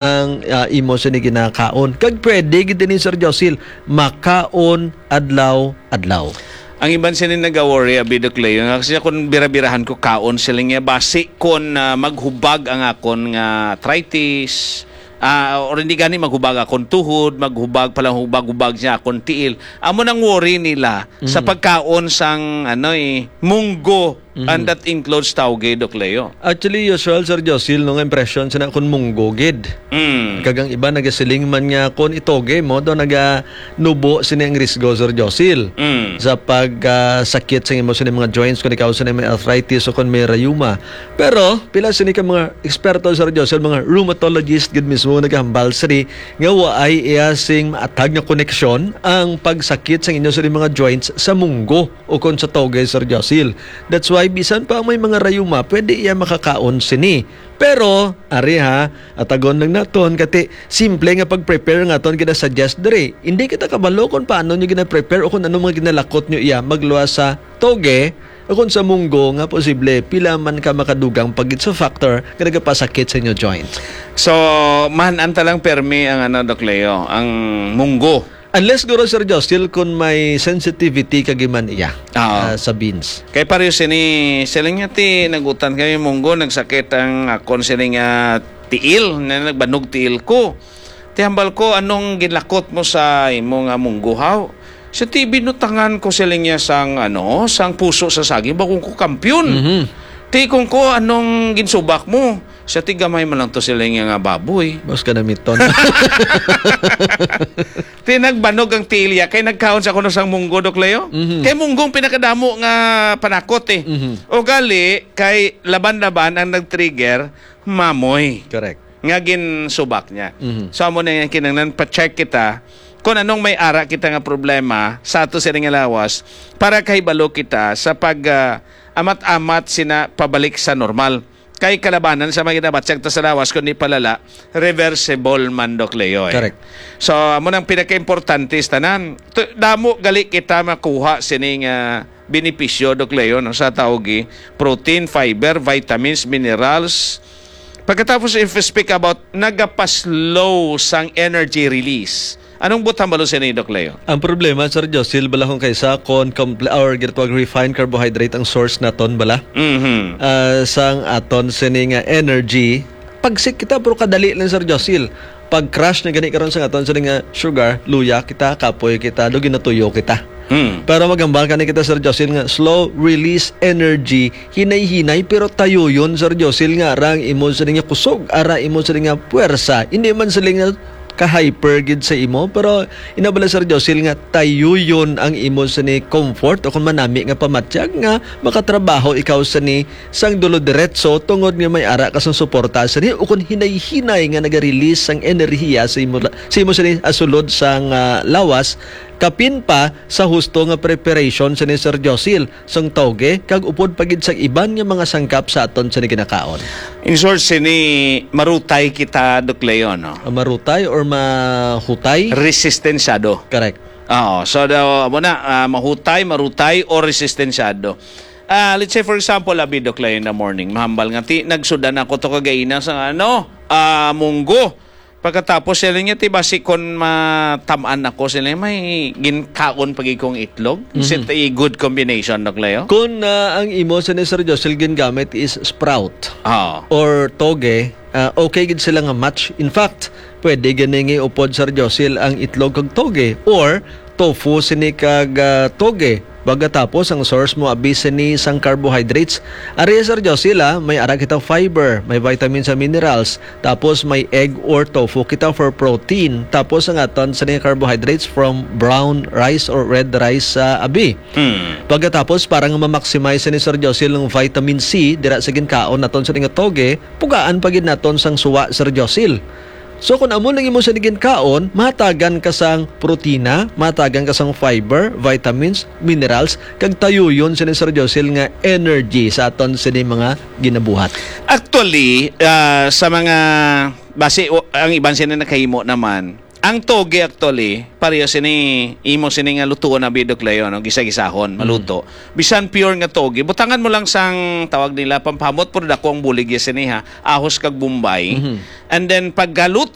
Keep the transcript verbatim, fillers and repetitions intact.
ang, ah, imo sini ginakaon. Kag pwede gid ini, Sir Josil, makaon adlaw-adlaw. Ang iban sini nagaworry, abi, Doc Leo, nga kasi kung bira-birahan ko kaon sila niya, basi kon, ah, maghubag ang akon nga arthritis, ah, or hindi gani maghubag akon tuhod, maghubag pala, hubag-hubag siya akon tiil. Amo nang worry nila sa Mm. pagkaon sang, ano, eh, munggo, Mhm. and that includes tawge, Doc Leo. Actually, usual, Sir Josil, no, nga impression sa nakon munggo gid. Mm. Kag ang iba nagasiling man nga kon itoge mo, do naganubo sini ang risgo, Sir Josil, Mm. sa pag, ah, sakit sa imo sini mga joints, kung ikaw sini may arthritis o kung may rayuma. Pero pila sini ka mga eksperto, Sir Josil, mga rheumatologist gid mismo nagahambal sini nga waay iya sing maatag nga koneksyon ang pagsakit sa inyo sini mga joints sa munggo o kon sa toge, Sir Josil. That's why bisan pa may mga rayuma, pwede iya makakaon sini. Pero, ari ha, atagon lang naton, kati simple nga pag-prepare nga aton gina-suggest diri. Hindi kita kabalo kung paano nyo gina-prepare o kung ano mga ginalakot nyo iya magluwas sa toge o kung sa munggo nga posible pila man ka makadugang pagit sa factor nga nagapasakit sa inyo joint. So, man-an ta lang permi ang, ano, Doc Leo, ang munggo. Unless, guro, Sir Justil, kung may sensitivity ka giman iya, Oo. ah, sa beans. Kay pareho sini, siling niya ti nagutan kami munggo, nagsakit ang akon siling nga tiil, na nagbanog tiil ko. Ti hambal ko, "Anong ginlakot mo sa imo nga munggo, haw?" Sa ti binutangan ko siling niya sang, ano, sang puso sa saging, bakong ko kampiyon. Mhm. Ti kung ko, "Anong ginsubak mo?" Sa ti gamay man lang to sila nga, nga baboy. Mas ka namiton. Ti nagbanog ang tiil ya, kay nagkaon sa kuno sang munggo, Doc Leo. Mhm. Kay munggo ang pinakadamo nga panakot, eh. Mhm. O gali, kay laban-laban ang nag-trigger, mamoy. Correct. Nga ginsubak niya. Mhm. So, amo na yung kinahanglan, pa-check kita kung anong may ara kita nga problema sa ato sila nga lawas para kahibalo kita sa pag, ah, amat-amat sina pabalik sa normal. Kay kalabanan sa mga ginabatyag ta sa lawas, kundi palala, reversible man, Doc Leo, eh. Correct. So, amo nang pinakaimportante sa tanan. Tu-, damo gali kita makuha sining, ah, benepisyo, Doc Leo, no, sa tawgi, protein, fiber, vitamins, minerals. Pagkatapos, if we speak about, nagapaslow sang energy release. Anong butang balo sini, Doc Leo? Ang problema, Sir Josil, bala kung kaysa kon compl-, or ginatawag refined carbohydrate ang source naton, bala? Mhm. Ah, sang aton sini nga energy, pagsik kita, pero kadali lang, Sir Josil. Pag-crash na gani karon sa aton sini nga sugar, luya kita, kapoy kita, do ginatuyo kita. Hmm. Pero magambal kani kita, Sir Josil, nga slow release energy, hinay-hinay, pero tayuyon, Sir Josil, nga ara ang imo sini nga kusog, ara imo sini nga puwersa. Hindi man sila nga ka-hyper gid sa imo, pero inabala, Sir Josil, nga tayuyon ang imo sini comfort o kung manami nga pamatyag nga makatrabaho ikaw sini sang dulo diretso tungod nga may ara ka sang suporta sini o kung hinay-hinay nga naga-release sang enerhiya sa imo, sa imo sini asulod sang, ah, lawas, kapin pa sa husto nga preparation sini, Sir Josil, sang tawge, kag upod pa gid sa iban nga mga sangkap sa aton sini ginakaon. In short, sini marutay kita, Doc Leo, no? Ah, marutay or mahutay? Resistensyado. Correct. Oo. So, daw, amo na, ah, mahutay, marutay, o resistensyado. Ah, let's say, for example, abi, Doc Leo, in the morning, mahambal nga, ti, nagsudan ako to kagaina sa, ano, ah, munggo. Pagkatapos, sila niya, ti, basi kon matam-an ako, sila may ginkaon pag ikong itlog. Is it Mhm. a good combination, Doc Leo? Kung, ah, ang imo sa ni Sir Jocelyn gingamit is sprout Oo. or toge, ah, okay gid sila nga match. In fact, pwede gani nga upod, Sir Josil, ang itlog kag toge or tofu sini kag, ah, toge. Pagkatapos, ang source mo abi sini sang carbohydrates. Ari, Sir Josil, ah, may ara kita fiber, may vitamins and minerals. Tapos may egg or tofu kita for protein. Tapos ang aton sini carbohydrates from brown rice or red rice sa abi. Hmm. Pagkatapos, para nga ma-maximize ni Sir Josil ang vitamin C, dira sa ginkaon naton sa nga toge, pugaan pa gid naton sang suwa, Sir Josil. So, kung amo nang imo sa ginkaon, mahatagan ka sang protina, mahatagan ka sang fiber, vitamins, minerals, kag tayuyon sini, Sir Josil, nga energy sa aton sini mga ginabuhat. Actually, ah, sa mga, basi, o, ang iban sini nakahimo naman, Ang toge actually, pareho sini, imo sini nga lutuon na bidok layo, no? Gisa-gisahon, maluto. Bisan pure nga toge, butangan mo lang sang tawag nila pampamot, pero dako ang bulig ya sini ha, ahos kag bombay. Mhm. And then pagkaluto,